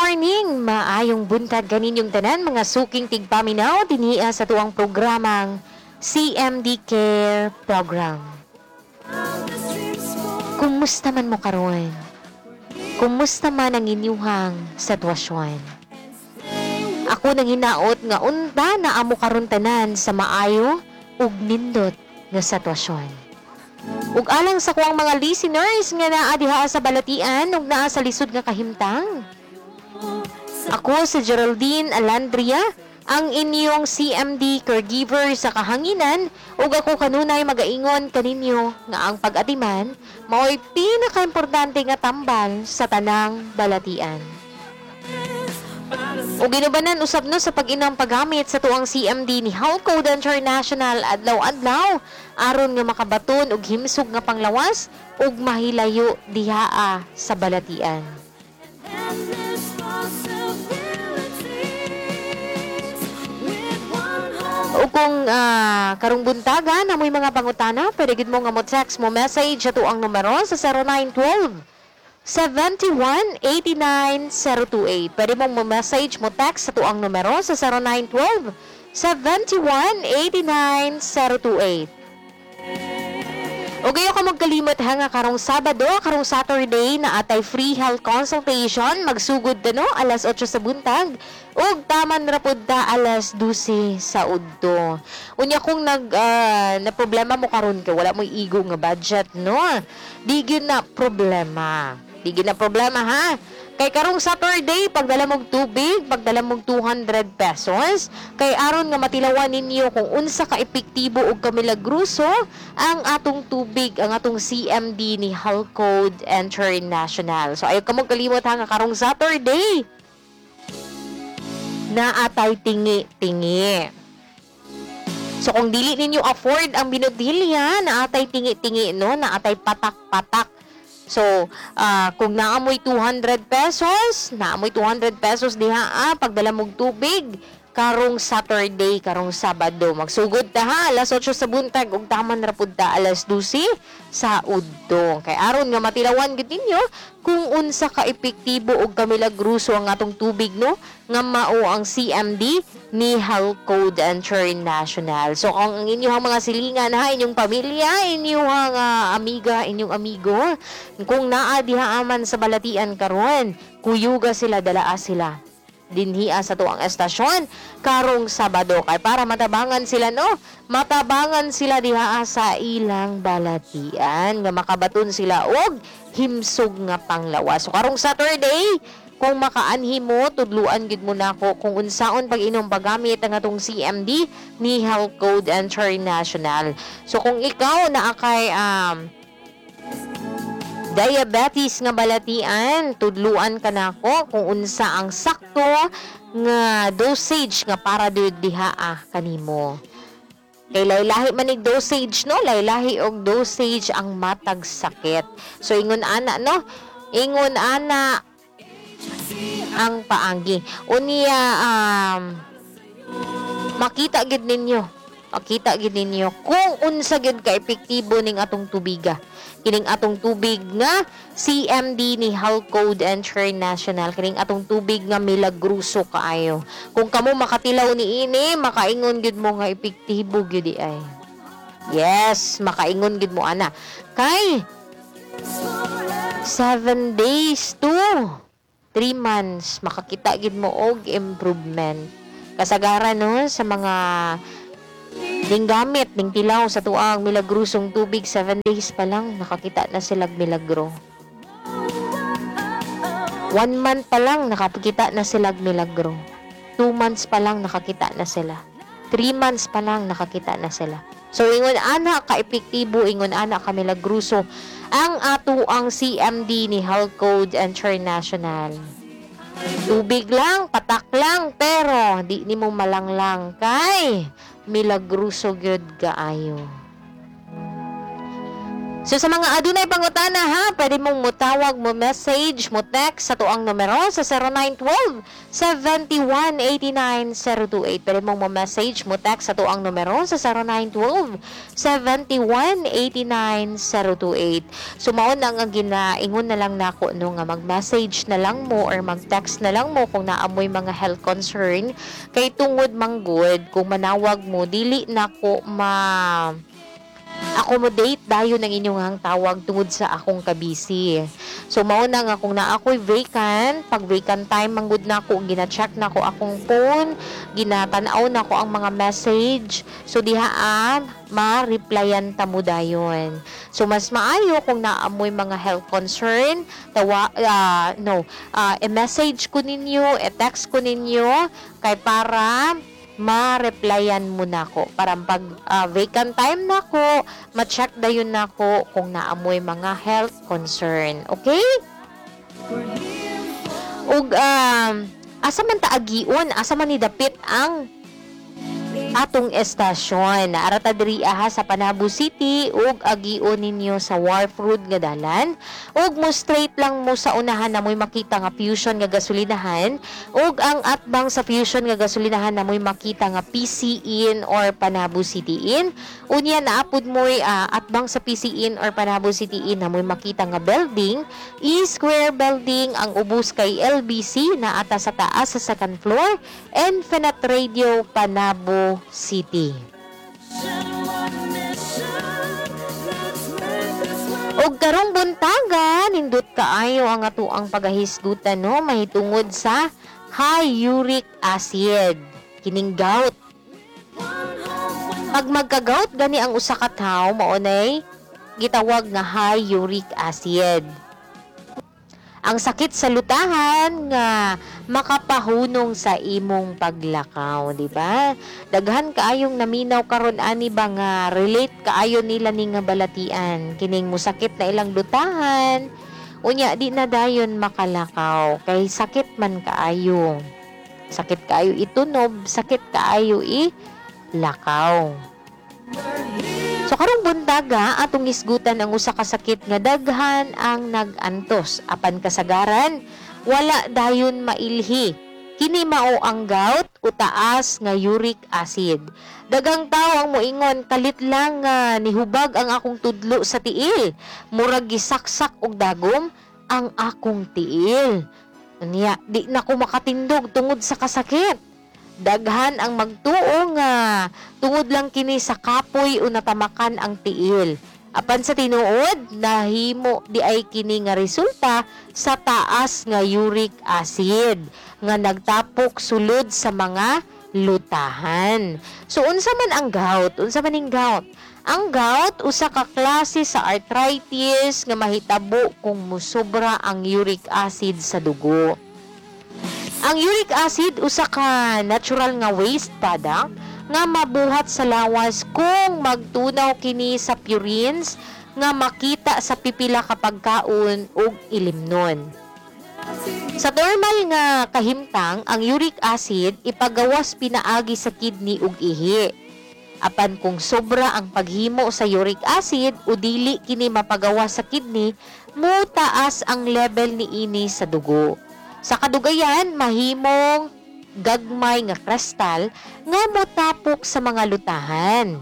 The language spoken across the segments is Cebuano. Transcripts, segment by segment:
Morning! Maayong buntag kaninyong tanan, mga suking tigpaminaw dinhiya sa tuang programang CMD Care Program. Kumusta man mo karon? Kumusta man ang inyuhang sitwasyon? Ako nang hinaot nga unta na amo karon tanan sa maayo ug nindot nga sitwasyon. Ug alang sa kuang mga listeners nga naa diha sa balatian ug naa sa lisod nga kahimtang. Ako si Geraldine Alandria, ang inyong CMD caregiver sa kahanginan, ug ako kanunay magaingon kaninyo nga ang pag-atiman mao'y pinakaimportante nga tambal sa tanang balatian. Ug ginubanan usab no sa pag-inom paggamit sa tuang CMD ni Health Code International adlaw-adlaw aron nga makabaton og himsog nga panglawas ug mahilayo dihaa sa balatian. O kung karong buntaga na mo'y mga pangutana, pwede gid mo nga mo text, mo message sa tuang numero sa 0912 71 89 028. Pwede mong mo message, mo text sa tuang numero sa 0912 71 89 028. O gayo ka magkalimot ha nga karong Sabado, karong Saturday na atay free health consultation, magsugod ta no alas 8 sa buntag ug taman ra pud ta alas 12 sa udto. Unya kung nag na problema mo karon kay wala mo'y igo nga budget no, di gyud na problema. Di gyud na problema ha. Kay karong Saturday, pagdala mong tubig, pagdala mong 200 pesos, kay aron nga matilawan ninyo kung unsa ka epektibo ug kamilagroso ang atong tubig, ang atong CMD ni Health Code International. So ayaw ka mo kalimot ha nga karong Saturday, naatay tingi-tingi. So kung dili ninyo afford ang binutilya, naatay tingi-tingi no, naatay patak-patak. So, kung naamoy 200 pesos, naamoy 200 pesos diha pagdala mong tubig karong Saturday, karong Sabado. Magsugod ta ha, alas 8 sa buntag ug taman ra pud ta alas 12 sa udto. Kay aron nga matilawan gid ninyo kung unsa ka epektibo ug kamilagruso ang atong tubig no, nga mao ang CMD ni Health Code International. So kung ang inyong mga silingan ha, inyong pamilya, inyong amiga, inyong amigo, kung naa diha aman sa balatian karon, kuyuga sila, dalaa sila dinhia sa tuang estasyon karong Sabado kay para matabangan sila no, matabangan sila diha sa ilang balatian nga makabaton sila og himsog nga panglawas. So karong Saturday, kung makaanhi mo, tudluan gid mo nako kung unsaon pag-inom paggamit ang atong CMD ni Health Code International. So kung ikaw naa kay diabetes nga balatian, tudluan ka nako kung unsa ang sakto nga dosage nga para diha kanimo. Kay laylahi man ig dosage no, laylahi og dosage ang matag sakit. So ingon ana no, ingon ana ang paagi. Unya makita gid ninyo, makita gid ninyo kung unsa gid ka epektibo ning atong tubiga. Kining atong tubig nga CMD ni Health Code International, kining atong tubig nga milagruso kaayo. Kung kamo makatilaw ni ini, makaingon gid mo nga epektibo gyud di ay. Yes, makaingon gid mo ana. Kay 7 days to 3 months makakita gid mo og improvement. Kasagaran no sa mga ning gamit ning tilaw sa tuang milagrosong tubig, 7 days pa lang nakakita na sila milagro. 1 month pa lang nakakita na sila milagro. 2 months pa lang nakakita na sila. 3 months pa lang nakakita na sila. So ingon ana ka epektibo, ingon ana ka milagroso ang ato ang CMD ni Health Code International. Tubig lang, patak lang, pero di nimo malanglang kay milagroso gyud kaayo. So sa mga adunay pangutana ha, pwede mong mutawag, mo message, mo text sa atuang numero sa 0912 7189 028. Pwede mong mo message, mo text sa atuang numero sa 0912 7189 028. So mao na ang ginaingon na lang nako, no, nga mag-message na lang mo or mag-text na lang mo kung naa moy mga health concern, kay tungod manggod kung manawag mo, dili nako ma accommodate dayon ang inyong tawag tungod sa akong kabisi. So mao na nga kung naa ako'y vacant, pag vacant time manggod nako, gina-check nako akong phone, ginatan-aw nako ang mga message. So diha ma-replyan ta mo dayon. So mas maayo kung naa moy mga health concern, tawa no, i-message ko ninyo, i-text ko ninyo kay para ma-replyan mo nako para pag vacant time nako, ma-check dayon nako kung naa moy mga health concern. Okay? Ug asa man ta agion, asa man ni dapit ang atong estasyon? Ara ta diri aha sa Panabo City ug agion ninyo sa Wharf Road nga dalan ug mo straight lang mo sa unahan, naa moy makita nga Fusion nga gasolinahan, ug ang atbang sa Fusion nga gasolinahan, naa moy makita nga PC Inn or Panabo City Inn. Unya naa pud mo'y atbang sa PC Inn or Panabo City Inn, naa moy makita nga building, E Square Building. Ang ubos kay LBC, naa ta sa taas sa second floor, Infinite Radio Panabo City. One mission, let's make this world. Og karong buntaga, nindot kaayo ang atuang pagahisgutan, no, mahitungod sa high uric acid, kining gout. Pag magka-gout gani ang usa ka tawo, mao nay gitawag nga high uric acid. Ang sakit sa lutahan nga makapahunong sa imong paglakaw, di ba? Daghan kaayong naminaw karon ani ba nga relate kaayo nila ni nga balatian, kining musakit na ilang lutahan, unya di na dayon makalakaw kay sakit man kaayo. Sakit kaayo itunob, sakit kaayo i lakaw. So karong buntaga, atong isgutan ang usa ka sakit nga daghan ang nag-antos apan kasagaran wala dayon mailhi. Kini mao ang gout o taas nga uric acid. Daghang tao ang moingon, "Kalit lang nga nihubag ang akong tudlo sa tiil. Murag gisaksak og dagom ang akong tiil. Unya, di na ko makatindog tungod sa kasakit." Daghan ang magtuo nga tungod lang kini sa kapoy o natamakan ang tiil. Apan sa tinuod, nahimo diay kini nga resulta sa taas nga uric acid nga nagtapok sulod sa mga lutahan. So unsa man ang gout? Unsa man ning gout? Ang gout, usa ka klase sa arthritis nga mahitabo kung musobra ang uric acid sa dugo. Ang uric acid, usa ka natural nga waste product nga mabuhat sa lawas kung magtunaw kini sa purines nga makita sa pipila ka pagkaon ug ilimnon. Sa normal nga kahimtang, ang uric acid ipagawas pinaagi sa kidney ug ihi. Apan kung sobra ang paghimo sa uric acid o dili kini mapagawas sa kidney, mutaas ang level niini sa dugo. Sa kadugayan, mahimong gagmay nga kristal nga motapok sa mga lutahan.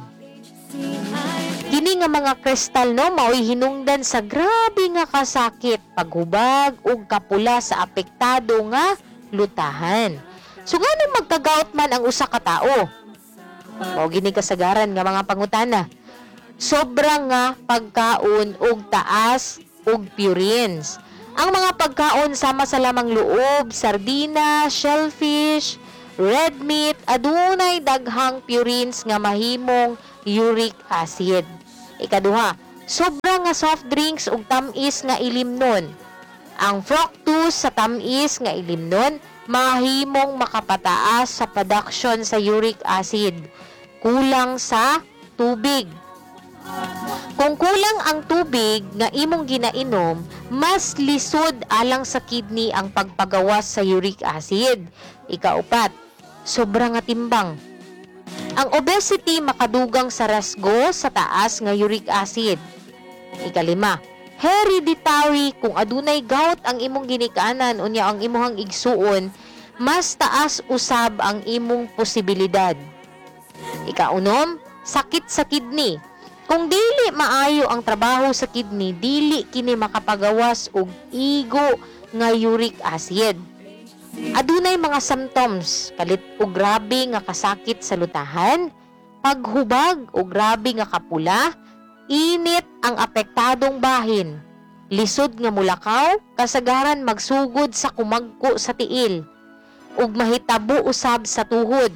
Kini nga mga kristal, no, mao'y hinungdan sa grabe nga kasakit, paghubag ug kapula sa apektado nga lutahan. So nganong magka-gout man ang usa ka tawo? Mao gini kasagaran nga mga pangutana. Sobra nga pagkaon ug taas ug purines. Ang mga pagkaon sama sa lamang loob, sardina, shellfish, red meat, adunay daghang purines nga mahimong uric acid. Ikaduha, sobra nga soft drinks ug tam-is nga ilimnon. Ang fructose sa tam-is nga ilimnon mahimong makapataas sa production sa uric acid. Kulang sa tubig. Kung kulang ang tubig nga imong ginainom, mas lisod alang sa kidney ang pagpagawas sa uric acid. Ikaupat, sobra nga timbang. Ang obesity makadugang sa resgo sa taas nga uric acid. Ikalima, hereditary. Kung adunay gout ang imong ginikanan unya ang imong igsuon, mas taas usab ang imong posibilidad. Ikaunom, sakit sa kidney. Kung dili maayo ang trabaho sa kidney, dili kini makapagawas og igo nga uric acid. Adunay mga symptoms, kalit og grabe nga kasakit sa lutahan, paghubag o grabe nga kapula, init ang apektadong bahin, lisod nga mulakaw, kasagaran magsugod sa kumagko sa tiil, ug mahitabo usab sa tuhod.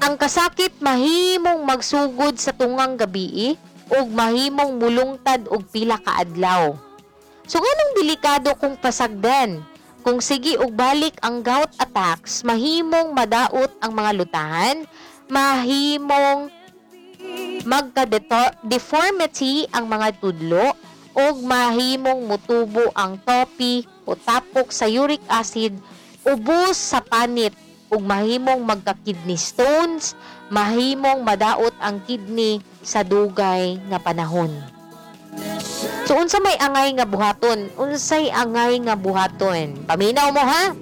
Ang kasakit mahimong magsugod sa tungang gabii ug mahimong mulungtad og pila ka adlaw. So nganong delikado kung pasagdan? Kung sige og balik ang gout attacks, mahimong madaot ang mga lutahan, mahimong magka-deformity ang mga tudlo, ug mahimong mutubo ang tophi o tapok sa uric acid ubos sa panit ug mahimong magka-kidney stones, mahimong madaot ang kidney sa dugay nga panahon. So unsa may angay nga buhaton? Unsay angay nga buhaton? Paminaw mo ha.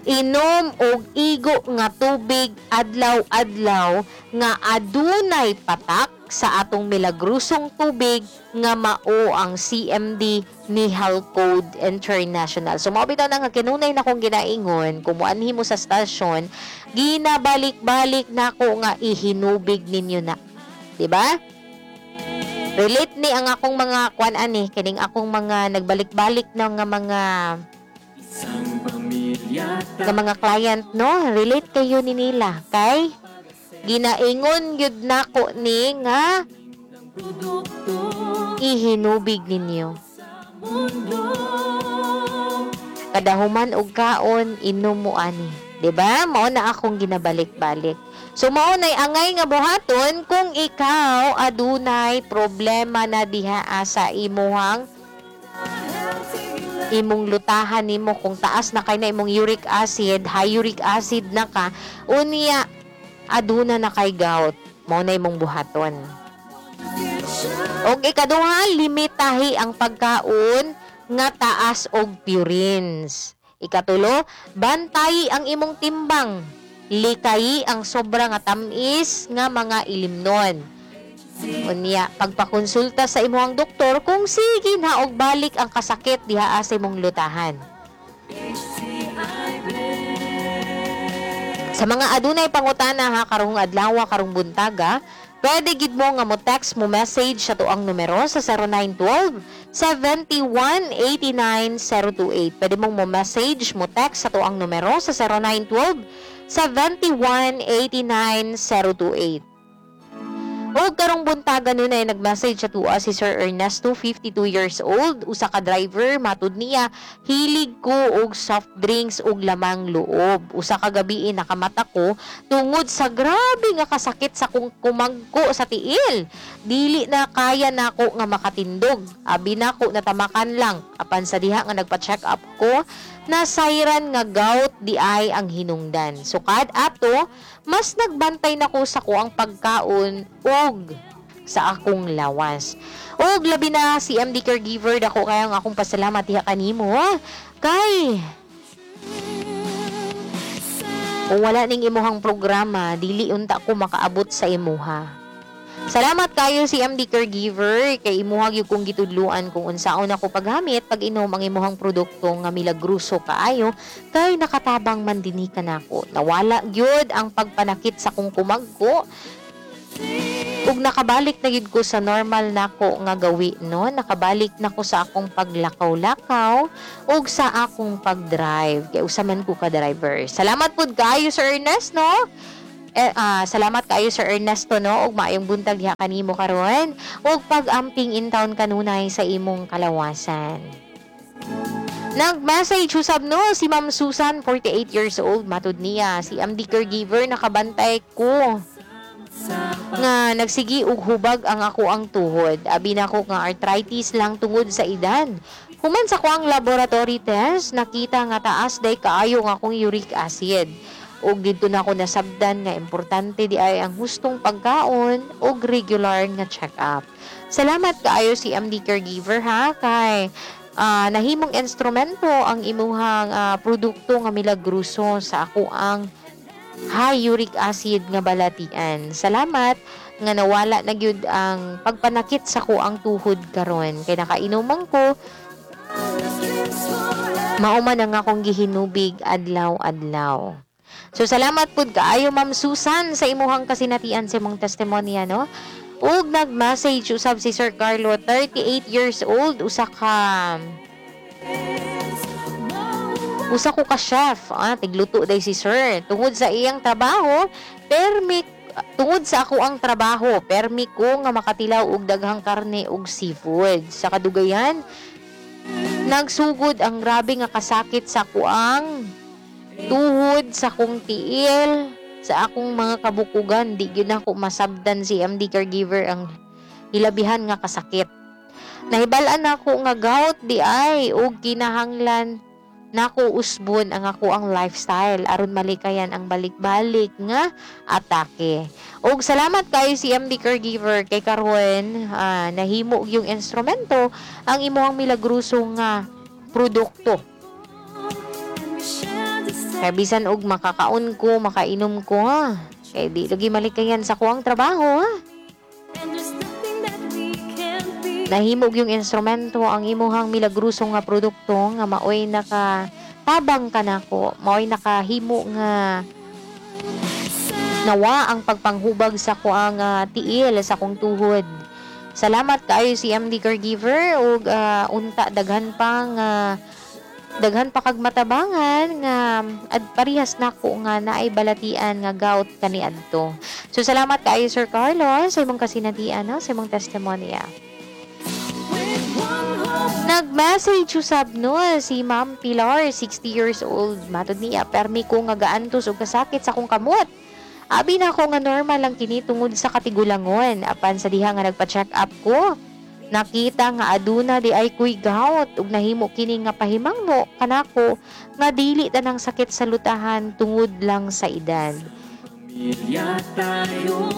Inom og igo nga tubig adlaw-adlaw nga adunay patak sa atong milagrosong tubig nga mao ang CMD ni Code International. So mao bitaw na nga kinunay na kong ginaingon, kung muanhi mo sa stasyon, ginabalik-balik nako nga ihinubig ninyo na. 'Di ba? Relate ni ang akong mga kuan ani, kining akong mga nagbalik-balik na nga mga Isang pamilya nga mga client, no? Relate kayo ni nila kay ginaingon gyud nako ni nga produkto ihinubig ninyo. Mundo. Kada human og kaon, inom mo ani, 'di ba? Mao na akong ginabalik-balik. So mao nay angay nga buhaton kung ikaw adunay problema na diha sa imuhang imong lutahan nimo, kung taas na kay na imong uric acid, high uric acid na ka, unya aduna na kay gout, mao na imong buhaton. Og ikaduha, limitahi ang pagkaon nga taas og purines. Ikatulo, bantayi ang imong timbang. Likayi ang sobra nga tamis nga mga ilimnon. Unya, pagpakonsulta sa imong doktor kung sige na og balik ang kasakit diha sa imong lutahan. Sa mga adunay pangutana ha karong adlaw, karong buntaga, pwede gid mo nga mo text, mo message sa tuang numero sa 0912 71 89 028. Pwede mong mo message, mo text sa tuang numero sa 0912 71 89 028. O karong buntaga nun ay nag-message sa tuwa si Sir Ernesto, 52 years old, usa ka driver. Matud niya, "Hilig ko og soft drinks ug lamang loob. Usa ka gabi nakamata ko tungod sa grabe nga kasakit sa kung kumagko sa tiil. Dili na kaya nako nga makatindog. Abi nako natamakan lang. Apan sa diha nga nagpa-check up ko, nasayran nga gout di ay ang hinungdan. Sukad ato, mas nagbantay nako sa kuang pagkaon ug sa akong lawas." Ug labi na si MD Caregiver, dako kayang akong pasalamat diha kanimo kay kung wala ning imuhang programa, dili unta ko makaabot sa imuha. Salamat kayo si MD Caregiver kay imuha gyud kong gitudluan kung unsaon ako paggamit, pag-inom ang imuhang produkto nga milagroso kaayo kay nakatabang man dinhi kanako. Nawala gyud ang pagpanakit sa kong kumagko ug nakabalik na gyud ko sa normal nako nga gawi, no? Nakabalik na ko sa akong paglakaw-lakaw ug sa akong pag-drive kay usa man ko ka driver. Salamat pud kaayo, Sir Ernest, no? Salamat kaayo, Sir Ernesto, no, ug maayong buntag diha kanimo karon ug pag-amping in town kanunay sa imong kalawasan. Nag-message usab, no, si Ma'am Susan, 48 years old. Matud niya, si MD Caregiver, nakabantay ko nga nagsigi og hubag ang ako ang tuhod. Abi nako nga arthritis lang tungod sa edad. Human sa kuang laboratory test, nakita nga taas day kaayo nga akong uric acid. Ug didto na ako nasabdan nga importante di ay ang hustong pagkaon ug regular nga check-up. Salamat kaayo, CMD Caregiver, ha, kay nahimong instrumento ang imuhang produkto nga milagroso sa ako ang high uric acid nga balatian. Salamat nga nawala na gyud ang pagpanakit sa kuang tuhod karon kay nakainuman ko, mao man ang akong gihinubig adlaw-adlaw. So salamat pud kaayo, Ma'am Susan, sa imuhang kasinatian, sa imong testimonya, no. Ug nag-message usab si Sir Carlo, 38 years old, usa ko ka chef, tigluto day si Sir. Tungod sa iyang trabaho, permi tungod sa ako ang trabaho, permi ko nga makatilaw og daghang karne ug seafood. Sa kadugayan, nagsugod ang grabe nga kasakit sa kuang tuhod, sa akong tiil, sa akong mga kabukugan. Di gyud nako masabdan, CMD Caregiver, ang hilabihan nga kasakit. Nahibal-an nako nga gout di ay ug kinahanglan nako usbon ang ako ang lifestyle aron malikayan ang balik-balik nga atake. Ug salamat kayo, CMD Caregiver, kay karon nahimo yung instrumento ang imuhang milagroso nga produkto. Kay bisan og makakaon ko, makainom ko, ha. Kay di lagi malikayan sa kuang trabaho, ha. Nahimo yung instrumento ang imuhang milagroso nga produkto nga maoy naka tabang kanako, maoy nakahimo nga nawa ang pagpanghubag sa kuang tiil, sa akong tuhod. Salamat kaayo, CMD Caregiver, ug unta daghan pa kag matabangan nga ad parehas nako nga naay balatian nga gout kaniadto. So salamat kaayo, Sir Carlos, sa imong kasinatian, no, sa imong testimonya. Nag-message usab, no, si Ma'am Pilar, 60 years old. Matod niya, permi ko nga gaantos og kasakit sa akong kamot. Abi na ako nga normal lang kini tungod sa katigulangon. Apan sa diha nga nagpa-check up ko, nakita nga aduna di ay kuy gout ug nahimo kini nga pahimangno kanako nga dili tanang sakit sa lutahan tungod lang sa edad. Pamilya tayo.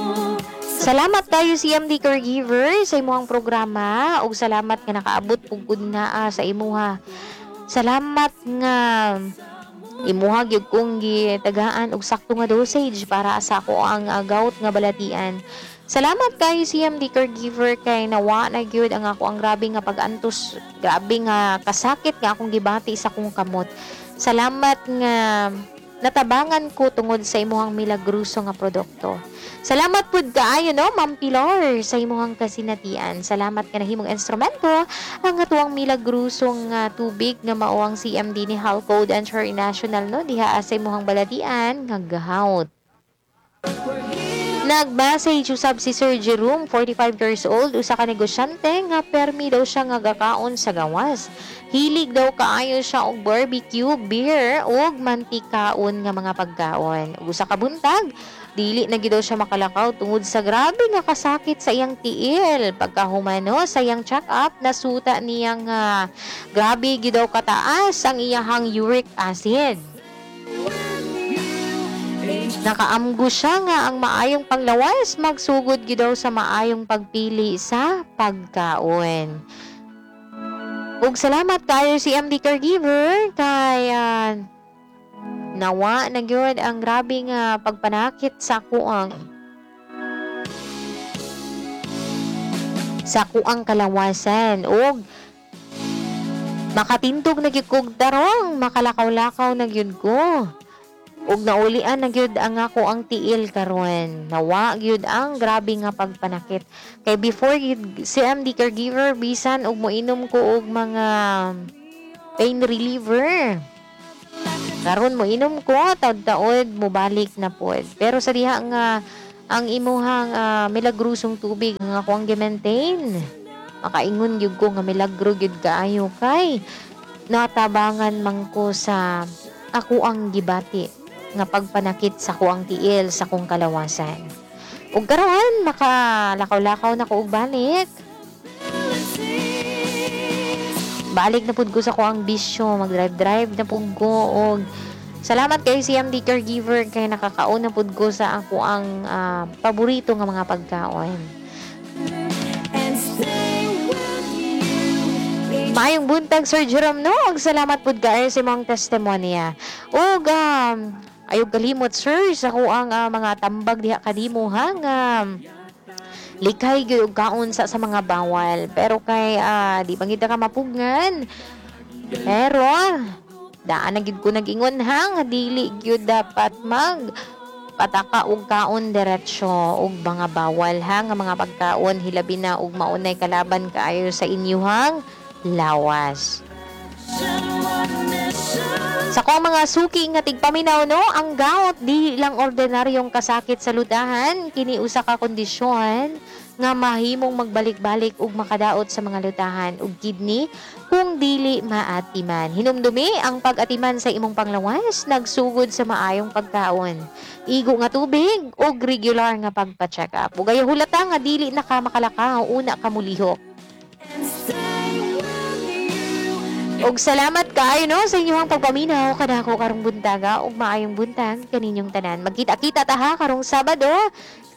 Salamat kayo, CMD Caregiver, sa imuhang programa ug salamat nga nakaabot pugod naa sa imuha. Salamat nga imuha gyud kong gitagaan og sakto nga dosage para sa ako ang gout nga balatian. Salamat kayo, CMD Caregiver, kay nawa na gyud ang ako ang grabe nga pag-antos, grabe nga kasakit nga akong gibati sa akong kamot. Salamat nga natabangan ko tungod sa imuhang milagroso nga produkto. Salamat pud kaayo, no, Ma'am Pilar, sa imuhang kasinatian. Salamat nga nahimong instrumento ang atuang milagroso nga tubig nga mao ang CMD ni Halcode International, no, diha sa imuhang balatian nga gout. Nag-message usab si Sir Jerome, 45 years old, usa ka negosyante nga permi daw siya nga gakaon sa gawas. Hilig daw kaayo siya og barbecue, beer ug mantikaon nga mga pagkaon. Ug usa ka buntag, dili na gyud daw siya makalakaw tungod sa grabe nga kasakit sa iyang tiil. Pagkahumano sa iyang check-up, nasuta niyang grabe gyud daw kataas ang iyahang uric acid. Nakaamgo siya nga ang maayong panglawas magsugod gyud daw sa maayong pagpili sa pagkaon. Ug salamat kayo, CMD Caregiver, kay nawa na gyud ang grabe nga pagpanakit sa kuang kalawasan ug makatindog na gyud kog tarong, makalakaw-lakaw na gyud ko. Ug naulian na gyud ang ako ang tiil karon. Nawa gyud ang grabe nga pagpanakit. Kay before gyud, CMD Caregiver, bisan og moinom ko og mga pain reliever. Karon mo inom ko, taod-taod mobalik na pod. Pero sa diha nga ang imuhang milagrosong tubig nga ako ang gi-maintain, makaingon gyud ko nga milagro gyud kaayo kay natabangan man ko sa ako ang gibati nga pagpanakit sa kuang tiil, sa kong kalawasan. Ug karon makalakaw-lakaw na ko og balik. Balik na pud ko sa kuang bisyo, mag-drive-drive na pud ko og Salamat kay CMD Caregiver kay nakakaon na pud ko sa ako ang paborito nga mga pagkaon. And stay with you. Maayong buntag, Sir Jerome, no. Ug salamat pud kaayo sa imong testimonya. Ug ayaw kalimot, sir, sa kuang mga tambag diha kanimo ha nga likay gyud og kaon sa mga bawal. Pero kay di man gid ka mapugngan. Pero daan na gid ko nag-ingon ha nga dili gyud dapat mag pataka og kaon diretso og mga bawal ha nga mga pagkaon, hilabi na og maunay kalaban kaayo sa inyuhang lawas. Sa akong mga suki nga tigpaminaw, no, ang gout di lang ordinaryong kasakit sa lutahan, kini usa ka kondisyon nga mahimong magbalik-balik ug makadaot sa mga lutahan ug kidney kung dili maatiman. Hinumdumi, ang pag-atiman sa imong panglawas nagsugod sa maayong pagkaon, igo nga tubig ug regular nga pagpa-check up. Ug ayaw hulata nga dili na ka makalakaw, una ka mulihok. And stay with you. Og salamat kaayo, no, sa inyong pagpaminaw kanako karong buntaga ug maayong buntag kaninyong tanan. Magkita-kita ta ha karong Sabado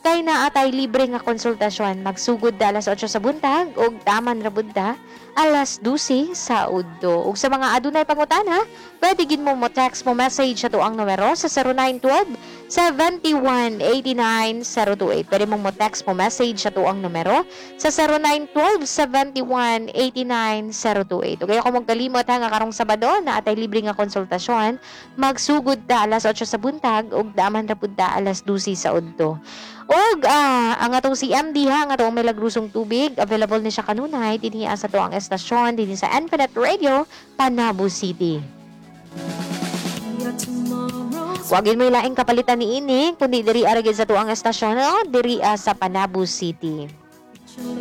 kay naa tay libre nga konsultasyon. Magsugod da alas 8 sa buntag ug taman ra pud ta alas 12 sa udto. Ug sa mga adunay pangutana, pwede gid mo mo text, mo message sa tuang numero sa 0912 71 89 028. Pwede mong mo text, mo message sa tuang numero sa 0912 71 89 028. Ug ayaw ko magkalimot ha nga karong Sabado naa tay libre nga konsultasyon. Magsugod ta alas 8 sa buntag ug daman ra pud ta alas 12 sa udto. Ug ang atong CMD ha, ang atong milagrosong tubig, available ni siya kanunay dinhi sa tuang estasyon dinhi sa Infinite Radio, Panabo City. Your tomorrow's Wa gyud moy laing kapalitan ni ini kundi diri ra gyud sa tuang estasyon, no? Diri sa Panabo City. Picture.